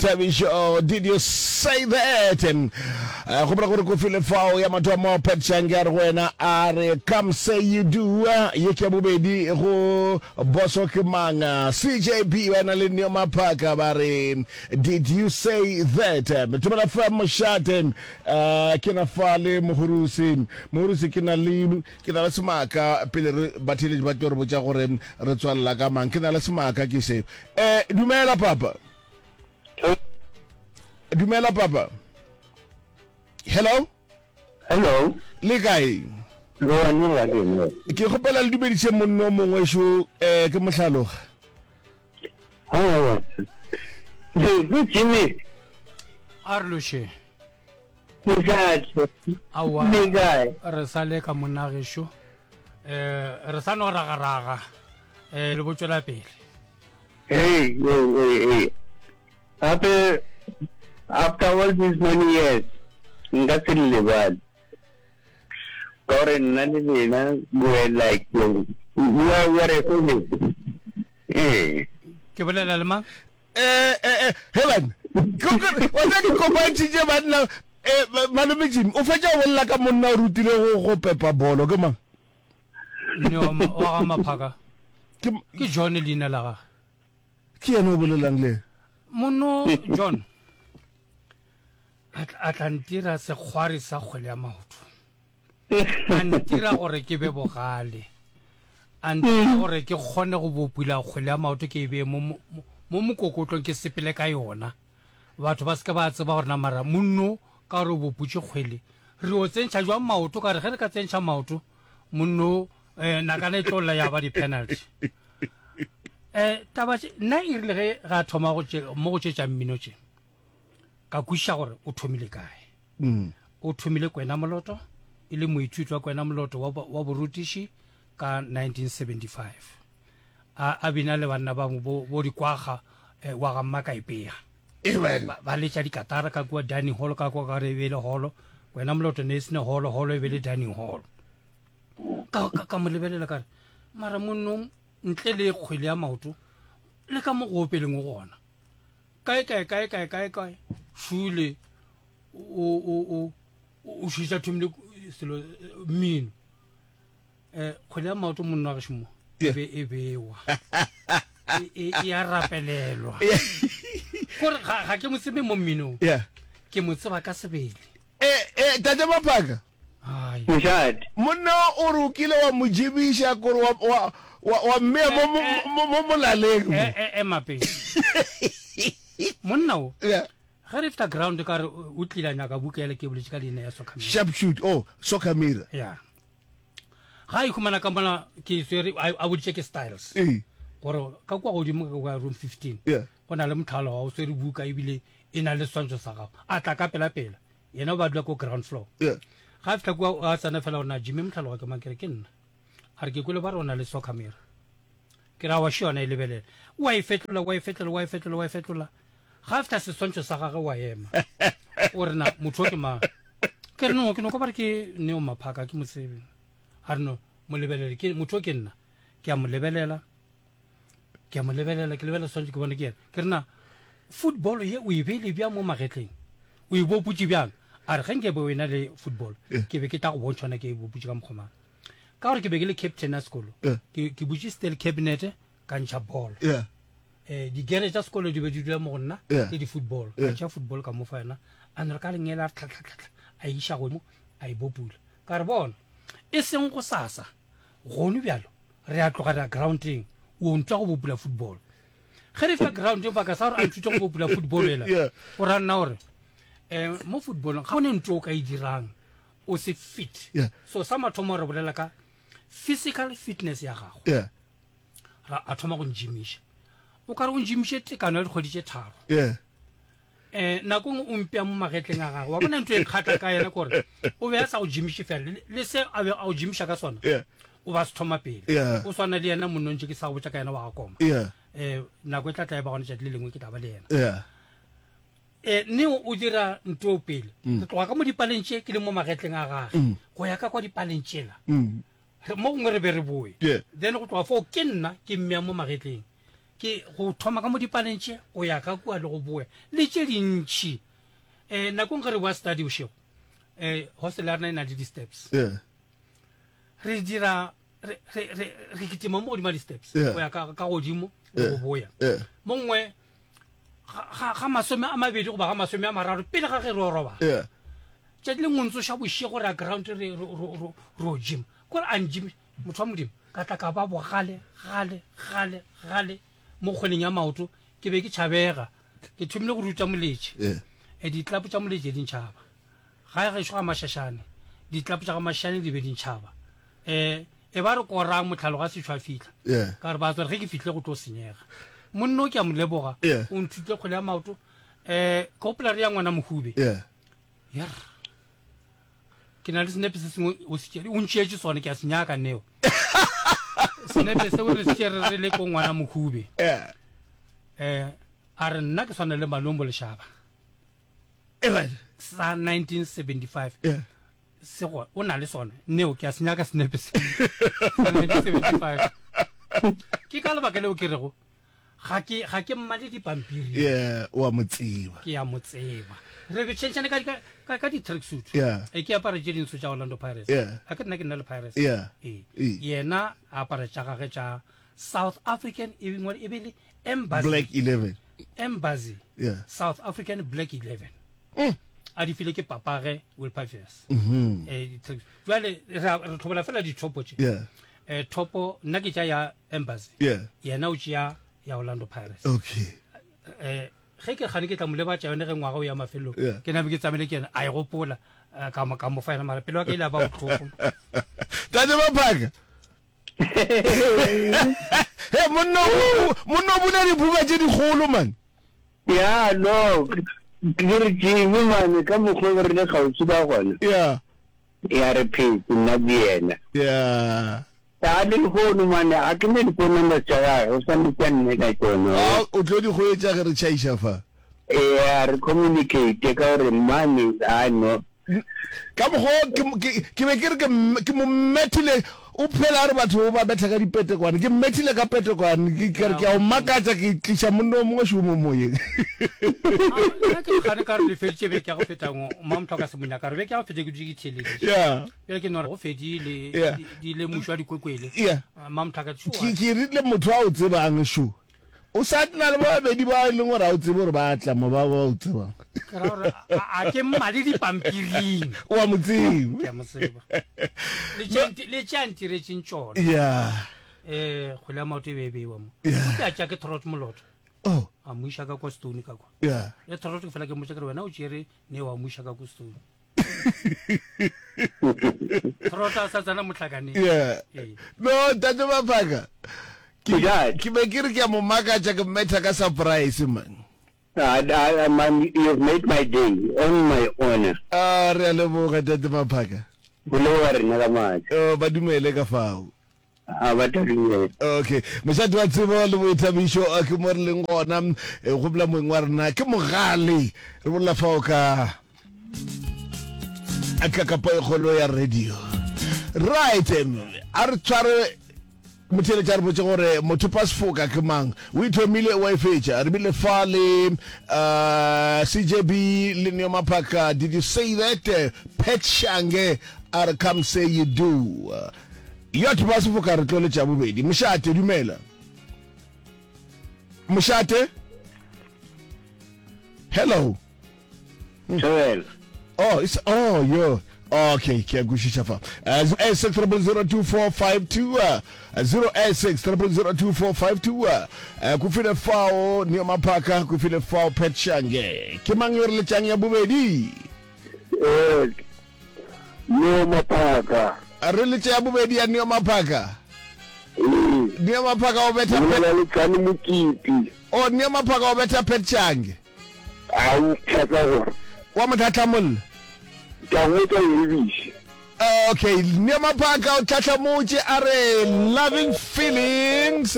Thabišo, did you say that? Eh, gopola gore kofi le fao ya mathomo Pat Shange a re go wena a re come say you do ye ke ya bobedi go boso ke mang CJB ba na le Neo Maphaka ba re did you say that Thobela FM mošate eh, ke na fa le mohurusi mohurusi ke na le ke na le semaka pele re batheeletši ba tlo re botša gore re tswalela ka mang ke na le semaka ke se eh dumela papa Dumela papa. Hello. Hello. Le kae? Ke kgopela le dumediše monno o mongwe šo eh ke mohlaloga. Ke Jimmy. A re loše. Mošate. Aowa. Le kae? Re sa le ka monna gešo. Eh re sa no ragaraga. Eh le bo tšwela pele. Hey, hey, hey, hey. Gape after all these many years nka se le lebale. Ka gore nna le lena we were like we are, we are a family. Ee. Ke bolela le mang? Eh, eh, eh, Helen, wa tseba ke kopantšhitše banna eh, malome Jimmy, o fetša go bolela ka monna o rutile go go pepa bolo ke mang? Neo wa ga Maphaka. Ke, Ke John leina la gage. ke yena o bolelang le yena. Mono John a tla- a tla ntira sekgwari sa kgwele ya maoto. A ntira gore ke be bogale. A ntira gore ke kgone go bopula kgwele ya maoto ke e bee mo mo mo mokokotlong ke sepele ka yona. Batho ba se ke ba tseba gore na mara monno ka gore o boputše kgwele re yo tsentšha jwang maoto ka re ge re ka tsentšha maoto monno eh, nakana e tlo lla ya ba di-penalty um taba tše nna e rile ge ga thoma go tše mo go tše tša mmino tše ka kwešiša gore o thomile kae mm. o thomile kwena moloto e le moithuti wa kwena moloto wa, wa borutiši ka 1975 a, a bina le banna ba bo, bo dikwaga eh, wa ga mmakaipea Amen. Ba, ba letša dikatara ka kua dining hall ka kua ka re e be e le holo wena moloto ne e sene holo holo e be le dining hall ka, ka, ka mo lebelela ka re mara monno ntle le kgwele ya maoto le ka mo go opeleng o gona kae kae kae kae kae kae šule o o o o šetša thomile selo mmino Eh, kgwele ya maoto monna wa gešo mo e be e bewa e, e, e a rapelelwa kore ga, ga ke mo tsebe mo mminong Yeah. ke mo tseba ka sebele Eh, eh, tate Maphaka Ai. Mošate. monna o re o kile wa mo jebiša kore wa, wa, wa, wa mmea mo, mo, mo, mo molaleng mo. Eh, eh, ema pele monna o Yeah. ge re fihla ground ka re o o tlile a nyaka buka ele ke boletše ka leina ya soccer mirror. Sharp shoot, oh, soccer mirror. ya ga a ikhumana ka mola ke swere a boditše ke styles Ee. gore ka kua godimo ka kua room 15 Yeah. go na le mothalo wa o swere buka ebile e na le seswantšho sa gago a tla ka pela-pela yena o ba dula ko ground floor Yeah. ga a fihla kua a tsena fela gore na jimmy motlhalo wa ke mang ke re ke nna a re ke kwele ba re o na le soccer mirror ke ra wa še yona e lebelela wa e fetola wa e fetola wa e fetola wa e fetola ga a fihla seswantšho sa gage wa ema o re na motho o ke mang ke re no ke no ka ba re ke neo maphaka ke mo tsebe a re no mo lebelele ke motho o ke nna ke a mo lebelela ke a mo lebelela ke lebelela seswantšho ke bone ke yena ke re na football ye o e beile bjang mo magetleng o e boputše bjang a re ge nke be o ena le football ke be ke tla go bontšha ona ke e boputše ka mokgwa mang ka gore ke be ke le captain ya sekolo Yeah. ke ke butše steel cabinet ka ntšha ball Yeah. eh digere tša sekolo di be di dula mo go nna Yeah. le di-football ka Yeah. tšea football ka mo fa yona a no re ka lengele a re tlhatlhatlhatlha a e iša godimo a e bopula ka re bona e seng go sasa gone bjalo re a tloga re ya groundeng o ntwa go bopula football ge re fika groundeng baka sa gore a nthute go bopula football ela Yeah. o ra nna gore um mo footballong ga go ne ntho o ka e dirang o se fit Yeah. so sa mathomo re bolela ka physical fitness ya gago Yeah. ra a thoma go njimiša o ka re o njimiše tekano ya dikgwedi tše tharo Yeah. um nako nngwe o mpea mo magetleng a gagwe wa bona ntho e kgatla ka yena kore o be a sa go jimiše fela le- le se a be a go jimiša ka sona Yeah. o ba se thoma pele Yeah. o swana le yena monnontše ke sa go botša ka yena wa ga koma Yeah. um nako e tla tla e ba gona tšatši le lengwe ke tla ba le yena Yeah. E, Neo o dira ntoo pele. Re tloga ka mo dipaleng tše ke le mo magetleng a gage go ya ka kwa dipaleng tšela. Re, mo gongwe re be re boe. Yeah. Then go tloga foo ke nna ke mmea mo magetleng. Ke go thoma ka mo dipaleng tše go ya ka kua le go boya le tše dintši. Um nakong ge re boa study bošego, um hostel ya rena e na le di-steps. Yeah. Re dira re re re re kitima mo godimo ga di-steps Yeah. go ya ka ka godimo le Yeah. go boya. Yeah. Mo nngwe ga ga ga masome a mabedi goba ga masome a mararo pele ga ge re o robala. Yeah. Tšatši le nngwe ntsoša bošego re ya ground re re re re re o gym. Kore a ngym Motho wa Modimo, ka tla ka ba bogale, gale, gale, gale mo kgweleng ya maoto. Ke be ke tšhabega. Ke thomile go ruta moletše. Yeah. E, ditlapo tša moletše di ntšhaba. Gae gešo ga Mašašane, ditlapo tša ga Mašašane di be di ntšhaba. E, e ba re korang mohlalo ga sešo a fihla. Yeah. Ka re ba tswa re ge ke fihlile go tlo senyega. Monna o ke a mo leboga. Yeah. O nthutile kgwele ya maoto. E, ke gopola re ya ngwana Mohube. Yeah. Yerr. Ke na le senepe se sengwe o se tšere, o ntšeetše sone, ke a se nyaka neo. Senepe seo re se tšere re le ko ngwana Mohube. Yeah. Eh, a re nna ke swana le Malombo Lešaba. Right. Sa 1975. Yeah. Se go, o na le sone. Neo, ke a se nyaka senepe se. Sa 1975. Ke ka lebaka leo ke rego, Ga ke, ga ke mmale dipampiri. Yeah, o a mo tseba. Ke a mo tseba. Re be tšhentšhane ka, ka, ka, ka di-tracksuit. Yeah. E ke apare tše dintsho tša Orlando Pirates. Yeah. A ke nna ke nna le Pirates. Yeah. Ee. Ee. Yena a apare tša gage tša South African e bingwe e be le Embassy. Black 11. Embassy. Yeah. South African Black 11. Mm. A di file ke papage Will Pipers. Mm -hmm. Eh, jwale re re tlhobola fela dithopo tše. Yeah. Eh, thopo nna ke tša ya Embassy. Yeah. Yena o tšea ya Orlando Pirates. Okay. Eh, ge ke gane ke tla mo lebatša yone ge ngwaga o ya mafelong. Yeah. Ke nabe ke tsamaile ke yena a e gopola eh, ka mo ka mo fa yena mara pelo ya ka ile ya ba bohloko. Tate Maphaka. He monna o monna o bula dibuka tše dikgolo man. Ya no ke re Jimmy man ka mokgwa re le kgauswi ka gona. Yeah. Ya re phetse nna le yena. Yeah. A le lehono mane a ke ne di-phone numbers tša gage o swanetše a nne ka tšona. A o tlo di hwetša ge re tšhaiša fa. Eya re communicate ka gore mane a no. Ka mokgwa o ke, ke, ke be ke re ke, ke mo methile, o phela a re batho o ba betha ka dipetekwane, ke mmethile ka petekwane, ke, ke re ke a o makatša, ke tliša monna o mongwe šomo moyeng. Nna ke gane ka re le feditše beke ya go feta ngo, Mamtlhoka Semonya ka re beke ya go feta ke dutše ke theeleditše. Yeah. Bjale ke no re go fedile, Yeah. di, di ile muši wa dikwekwele. Yeah. Mamtlhoka, Ke, ke rile motho a o tsebang šo. O sa na le ba babedi ba e leng gore ga o tsebe gore ba tla mo ba ba o tsebang. Ke ra gore a ke mmale dipampiring. O a mo tseba. Ke a mo tseba. Le tše le tše a ntiretseng tšona. Yeah. Eh, kgwele ya maoto e be e beiwa mo. Yeah. Ke a tša ke Trot Moloto. Oh. A mo iša ka kwa Stone ka kwa. Yeah. Le Trot ke fela ke mmotša ke re wena o tšere ne wa mo iša ka kwa Stone. Trota sa tsena mohlakaneng. Yeah. Ee. No, Ntate Maphaka. Ke Ntate. ke be ke re ke a mo makatša ke mmetha ka surprise man. I, I, man, you've made my day on my honor. Ah, re a leboga Ntate Maphaka. Go leboga rena ka maatla. Oh, ba dumele ka fao. A ba tadimele. Okay, mošate wa tsebo le boithabišo eh, ke mo re leng gona eh, go bola moeng wa rena ke mogale re bolela fao ka ka kapa e kgolo ya radio right a re tshware motheletša re botse gore motho pa sefoka ke mang o ithomile wa e fetša re bile fa le uh, cjb le neo maphaka did you say that pet shange a re come say you do Yot ba sefoka re tlo letša bobedi. Mošate, dumela. Mošate? Hello. Thobela. Oh, it's oh, yo. Okay, ke a kwešiša fa. Uh, 086 0002452 uh, 086 0002452 uh, uh, ko file fao Neo Maphaka, ko file fao Pat Shange. Ke mang yo re letšang ya bobedi? Eh, Neo Maphaka. A re letše ya bobedi ya Neo Maphaka. Ee. Neo Maphaka o betha Ke bolela le Tsane Mokete. Oh, Neo Maphaka o betha Pat Shange. A o tlhatla gore. Wa mo tlhatlamolla. Ke a go tla ebiše. Okay, Neo Maphaka o tlhatlamotše a re loving feelings.